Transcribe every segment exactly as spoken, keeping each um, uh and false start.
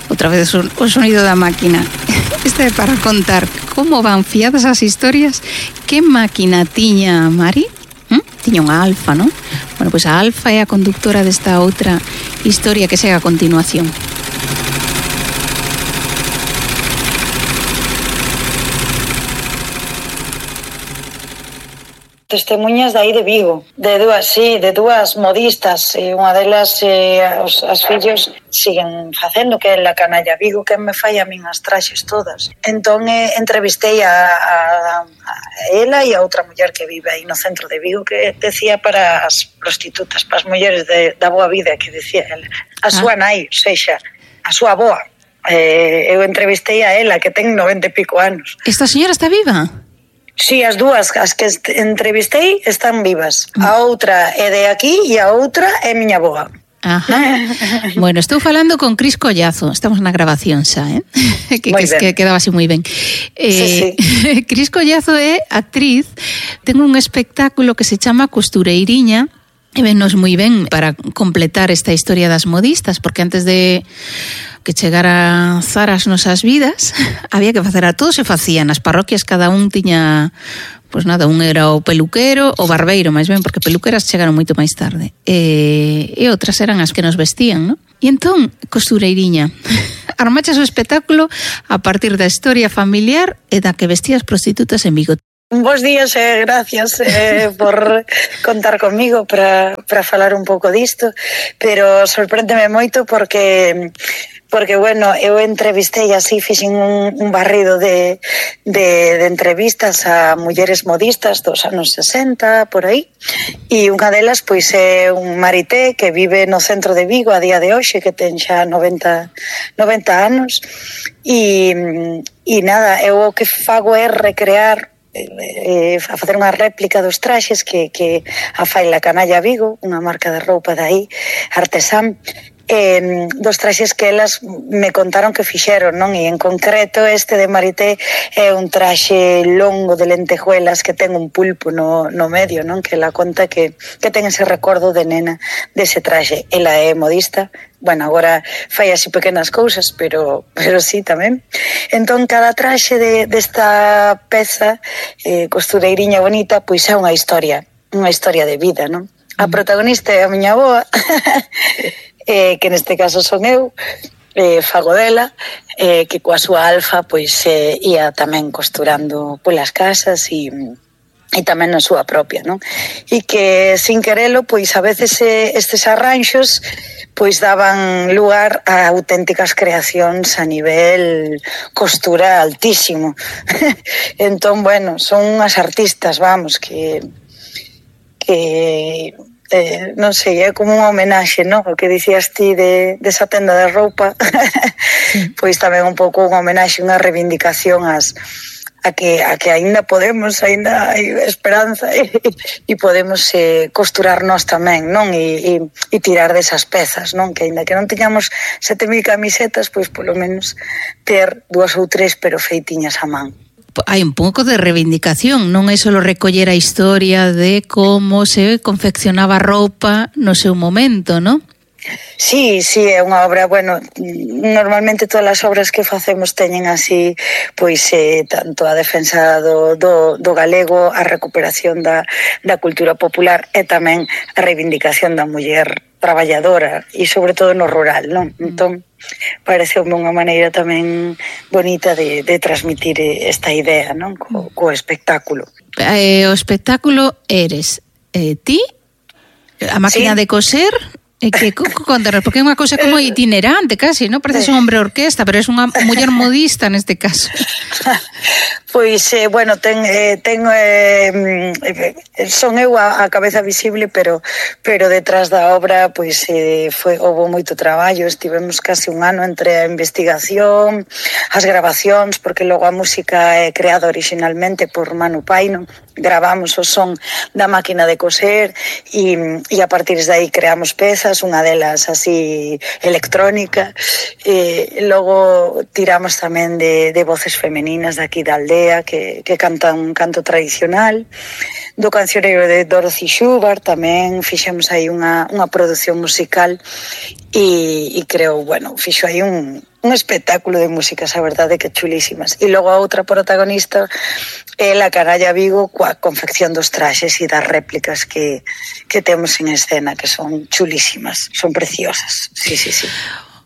outra vez o sonido da máquina. Este é para contar como van fiadas as historias. Que máquina tiña Mari? ¿Mm? Tiña unha Alfa, non? Bueno, pois a Alfa é a conductora desta outra historia que segue a continuación. Testemunhas dai de Vigo, de dúas, sí, de dúas modistas, e unha delas, eh, os, as fillos siguen facendo, que é la canalla Vigo, que me fai a min as traxes todas. Entón, eh, entrevistei a, a, a ela e a outra muller que vive aí no centro de Vigo, que decía para as prostitutas, para as mulleres de, da boa vida, que decía ela. A súa ah. nai, sexa, a súa boa. Eh, eu entrevistei a ela, que ten noventa e pico anos. Esta señora está viva? Sí, as dúas, as que entrevistei están vivas. A outra é de aquí e a outra é miña boa. Ajá. Bueno, estou falando con Cris Collazo. Estamos na grabación xa, eh? que, que, que quedaba así moi ben. Eh, sí, sí. Cris Collazo é actriz. Ten un espectáculo que se chama Costureiriña. E vennos moi ben para completar esta historia das modistas, porque antes de que chegara Zara ás nosas vidas, había que facer a todos, se facían nas parroquias, cada un tiña, pois nada, un era o peluquero, o barbeiro, máis ben, porque peluqueras chegaron moito máis tarde, e, e outras eran as que nos vestían, non? E entón, Costureiriña, armachas o espectáculo a partir da historia familiar e da que vestías prostitutas en Vigo. Bos días e eh, gracias eh, por contar comigo para, para falar un pouco disto, pero sorpréndeme moito porque porque, bueno, eu entrevistei así, fixen un, un barrido de, de, de entrevistas a mulleres modistas dos anos sesenta, por aí, e unha delas, pois, é un marité que vive no centro de Vigo a día de hoxe, que ten xa noventa anos, e, e nada, eu o que fago é recrear Eh, a facer unha réplica dos traxes que, que a fai la Canalla Vigo, unha marca de roupa dai, artesán, eh, dos traxes que elas me contaron que fixeron, non? E en concreto este de Marité é un traxe longo de lentejuelas que ten un pulpo no, no medio, non? Que ela conta que, que ten ese recordo de nena dese traxe. Ela é modista, bueno, agora fai así pequenas cousas, pero pero sí tamén. Entón, cada traxe de, desta peza, eh, costureiriña bonita, pois é unha historia, unha historia de vida, non? A protagonista é a miña boa, eh, que neste caso son eu, eh, fago dela, eh, que coa súa Alfa, pois, eh, ia tamén costurando polas casas e... e tamén na súa propia, non? E que, sin querelo, pois a veces eh, estes arranxos pois daban lugar a auténticas creacións a nivel costura altísimo. Entón, bueno, son unhas artistas, vamos, que que eh, non sei, é como unha homenaxe, non? O que dicías ti de, de esa tenda de roupa, pois tamén un pouco unha homenaxe, unha reivindicación ás a que a que aínda podemos, aínda hai esperanza e, e podemos eh, costurar nós tamén, non? E, e, e tirar desas pezas, non? Que aínda que non teñamos sete mil camisetas, pois polo menos ter dúas ou tres, pero feitiñas a man. Hai un pouco de reivindicación, non é só recoller a historia de como se confeccionaba roupa no seu momento, non? Sí, sí, é unha obra, bueno, normalmente todas as obras que facemos teñen así, pois, eh, tanto a defensa do, do, do galego, a recuperación da, da cultura popular e tamén a reivindicación da muller traballadora e sobre todo no rural, non? Entón, pareceume unha maneira tamén bonita de, de transmitir esta idea, non? Co, co espectáculo. Eh, o espectáculo eres eh, ti, a máquina sí. de coser... E que, contanos, porque é unha cousa como itinerante casi, non? Parece un hombre orquesta, pero é unha muller modista neste caso. Pois, eh, bueno, ten, eh, ten eh, son eu a, a cabeza visible, pero pero detrás da obra, pois, eh, foi, houve moito traballo, estivemos casi un ano entre a investigación, as grabacións, porque logo a música é creada originalmente por Manu Paino, gravamos o son da máquina de coser e, e a partir de aí creamos pezas, unha delas así electrónica, e logo tiramos tamén de, de voces femeninas de aquí da aldea, aldea que, que canta un canto tradicional, do cancioneiro de Dorothy Schubert, tamén fixemos aí unha, unha produción musical e, e creo, bueno, fixo aí un, un espectáculo de músicas, a verdade que chulísimas. E logo a outra protagonista é la Canalla Vigo coa confección dos traxes e das réplicas que, que temos en escena, que son chulísimas, son preciosas. Sí, sí, sí.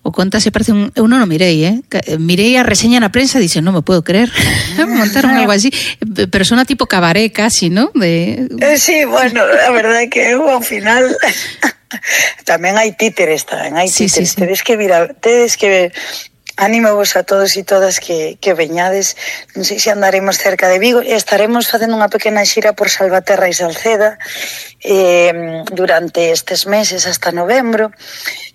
O conta se parece un... Eu non o mirei, eh? Mirei a reseña na prensa e dixen, non me puedo creer. Montaron algo así. Persona tipo cabaret casi, ¿no? De... Eh, sí, bueno, a verdade que eu ao final... tamén hai títeres, tamén hai sí, títeres. Sí, sí. Tedes que mirar, tedes que... Animo vos a todos e todas que, que veñades. Non sei se andaremos cerca de Vigo e estaremos facendo unha pequena xira por Salvaterra e Salceda eh, durante estes meses hasta novembro,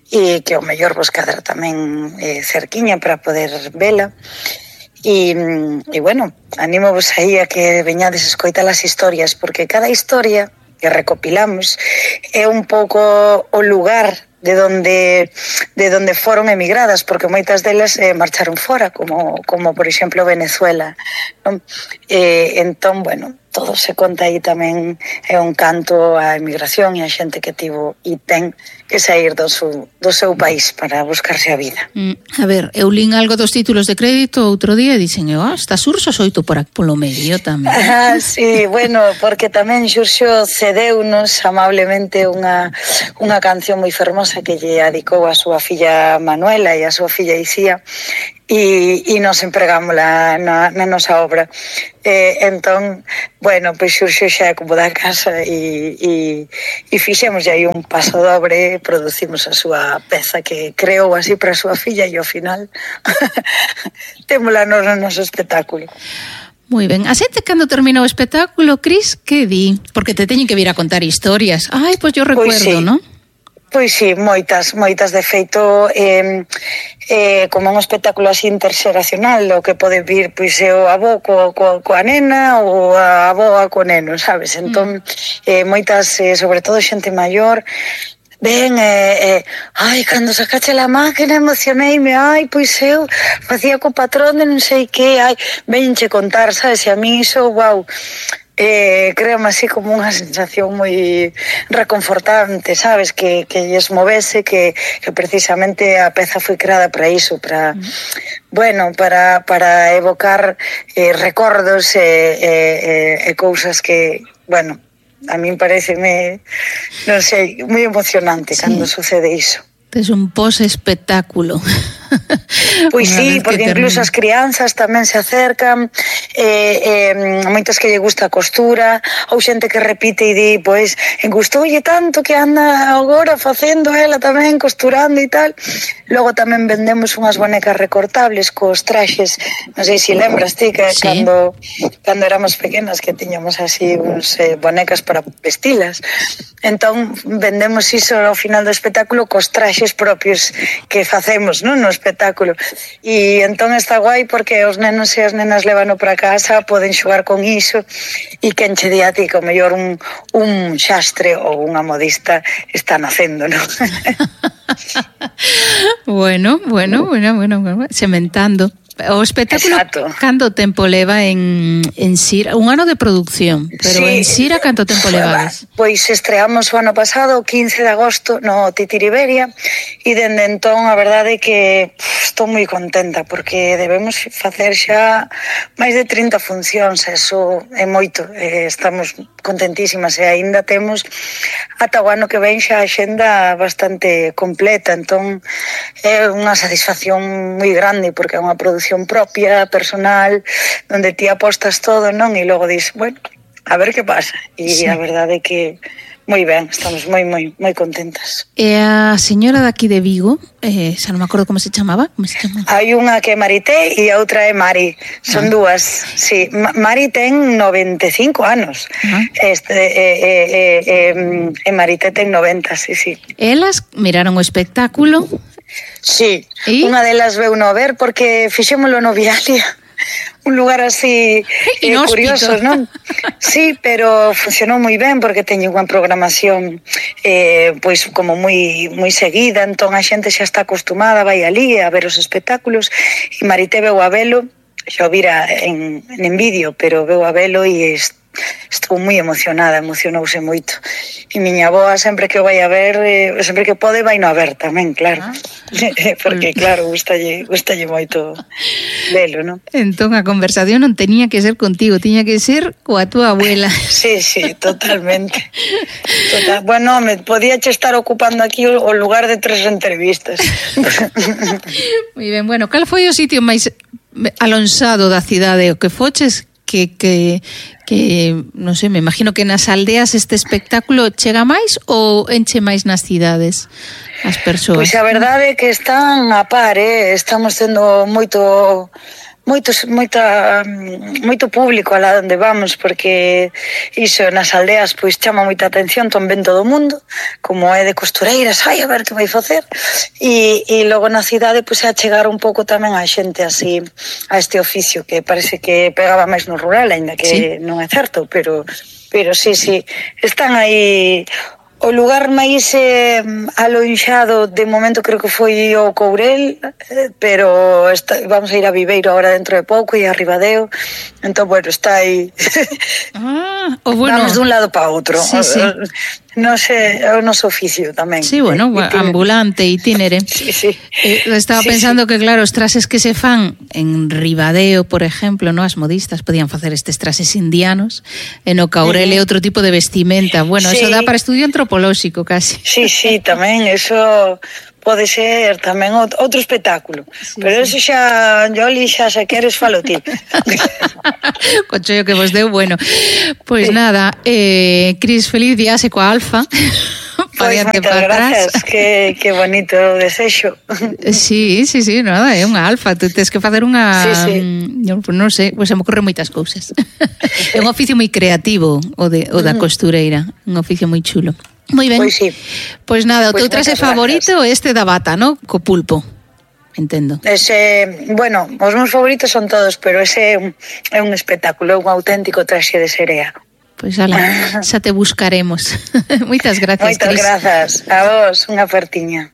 e que o mellor vos cadra tamén eh, cerquiña para poder vela. E, e bueno, animo vos aí a que veñades a escoitar as historias, porque cada historia que recopilamos é un pouco o lugar de donde de donde foron emigradas, porque moitas delas eh, marcharon fora, como como por exemplo Venezuela, non? Eh, entón, bueno, todo se conta aí tamén, é un canto á emigración e a xente que tivo e ten que sair do seu, do seu país para buscarse a vida. Mm, a ver, eu lín algo dos títulos de crédito outro día e dixen, oh, está Xurxo Soito por aquí polo medio tamén. Ah, sí, bueno, porque tamén Xurxo cedeunos amablemente unha, unha canción moi fermosa que lle adicou a súa filla Manuela e a súa filla Icía, e, e nos empregámola na, na nosa obra. Eh, entón, bueno, pois Xurxo xa é como da casa e, e, e fixemos aí un paso dobre, producimos a súa peza que creou así para a súa filla e ao final témola no, no noso espectáculo. Moi ben. A xente cando terminou o espectáculo, Cris, que di? Porque te teñen que vir a contar historias. Ai, pois yo recuerdo, pois sí. Non? Pois sí, moitas, moitas de feito, eh, eh, como un espectáculo así interxeracional, o que pode vir pois é o avó co, co, coa nena ou a avoa co neno, sabes? Entón, eh, moitas, eh, sobre todo xente maior, ben, eh, eh, ai, cando sacache la máquina emocioneime, ai, pois eu facía co patrón de non sei que, ai, venche contar, sabes? E a mí iso, wow, eh, créame así como unha sensación moi reconfortante, sabes? Que, que lles movese, que, que precisamente a peza foi creada para iso, para, mm. bueno, para, para evocar eh, recordos e eh, eh, eh, cousas que, bueno, a min pareceme, non sei, moi emocionante, sí, cando sucede iso. Es un pos-espectáculo. Pois sí, porque incluso as crianzas tamén se acercan, eh, eh, moitas que lle gusta a costura, ou xente que repite e di, pois, engustoulle tanto que anda agora facendo ela tamén, costurando e tal. Logo tamén vendemos unhas bonecas recortables cos traxes, non sei se lembras ti que sí, cando, cando éramos pequenas que tiñamos así uns eh, bonecas para vestilas. Entón vendemos iso ao final do espectáculo cos traxes propios que facemos, non, no espectáculo. E entón está guai porque os nenos e as nenas levano para casa, poden xogar con iso e quen che di a ti que o mellor un, un xastre ou unha modista está nacendo, non? bueno, bueno, bueno, bueno, bueno, sementando. O espectáculo, exacto, canto tempo leva en, en Sira? Un ano de producción, pero sí, en Sira canto tempo levades? Pois estreamos o ano pasado, o quince de agosto, no Titiriberia, e dende entón a verdade é que pff, estou moi contenta, porque debemos facer xa máis de trinta funcións, eso é moito, eh, estamos contentísimas e aínda temos ata o ano que ven xa a xenda bastante completa, entón é unha satisfacción moi grande, porque é unha produción propia, personal, donde ti apostas todo, non? E logo dis, bueno, a ver que pasa. E sí, a verdade é que moi ben, estamos moi, moi, moi contentas. E a señora daqui de Vigo, eh, xa non me acordo como se chamaba, como se chamaba? Hai unha que é Marité e a outra é Mari, son ah. dúas, sí. Mari ten noventa e cinco anos, ah. este, eh, eh, eh, eh, e Marité ten noventa, sí, sí. Elas miraron o espectáculo. Sí, ¿y? Unha delas veu no ver porque fixémolo no Vialia, un lugar así eh, curioso, non? Sí, pero funcionou moi ben porque teño unha programación eh, pois como moi moi seguida, entón a xente xa está acostumada, vai ali a ver os espectáculos, e Marité veu a velo xa o vira en, en vídeo, pero veu a velo e estou moi emocionada, emocionouse moito. E miña avoa sempre que o vai a ver, eh, sempre que pode vai no a ver tamén, claro. Ah. Porque claro, gustalle, gustalle moito velo, non? Entón a conversación non tenía que ser contigo, tiña que ser coa túa abuela. Sí, sí, totalmente. Total. Bueno, me podía che estar ocupando aquí o lugar de tres entrevistas. Moi ben, bueno, cal foi o sitio máis alonsado da cidade o que foches que, que, que, non sei, me imagino que nas aldeas este espectáculo chega máis ou enche máis nas cidades as persoas? Pois a verdade é que están a par, eh? Estamos tendo moito... Moitos, moita, moito público alá onde vamos, porque iso nas aldeas pois chama moita atención, ton ven todo o mundo, como é de costureiras, ai, a ver que vai facer, e, e logo na cidade pois a chegar un pouco tamén a xente así a este oficio, que parece que pegaba máis no rural, aínda que sí, non é certo, pero, pero sí, sí, están aí. O lugar máis eh, alonxado de momento creo que foi o Courel, eh, pero está, vamos a ir a Viveiro agora dentro de pouco e a Ribadeo, entón, bueno, está aí. Ah, o bueno. Vamos dun lado para outro. Sí, sí. Non sei, é o noso oficio tamén. Sí, bueno, eh, ambulante, itinere. Sí, sí. Eh, estaba sí, pensando sí. que, claro, os trases que se fan en Ribadeo, por exemplo, no, as modistas podían facer estes trases indianos, e no Caurel é uh -huh. outro tipo de vestimenta. Bueno, sí. Eso dá para estudio antropolóxico, casi. Sí, sí, tamén, eso pode ser tamén outro espectáculo. Sí, pero sí. Eso xa, Yoli, xa se queres falo ti. Con chollo que vos deu, bueno. Pois pues sí. Nada, eh, Cris, feliz viaxe coa Alfa. Pois moitas gracias, que, que bonito o desexo. Sí, sí, sí, nada, é unha Alfa. Tu tens que facer unha... Sí, sí. Non, non sei, pues se me ocorren moitas cousas. É un oficio moi creativo o, de, o da costureira, un oficio moi chulo. Moi ben. Pois sí. Pois nada, o teu traxe favorito é este da bata, ¿no? Co pulpo. Entendo. Ese, bueno, os meus favoritos son todos, pero ese é un, é un espectáculo, é un auténtico traxe de serea. Pois ala, xa te buscaremos. Moitas gracias, Moitas Cris. grazas. A vos, unha apertiña.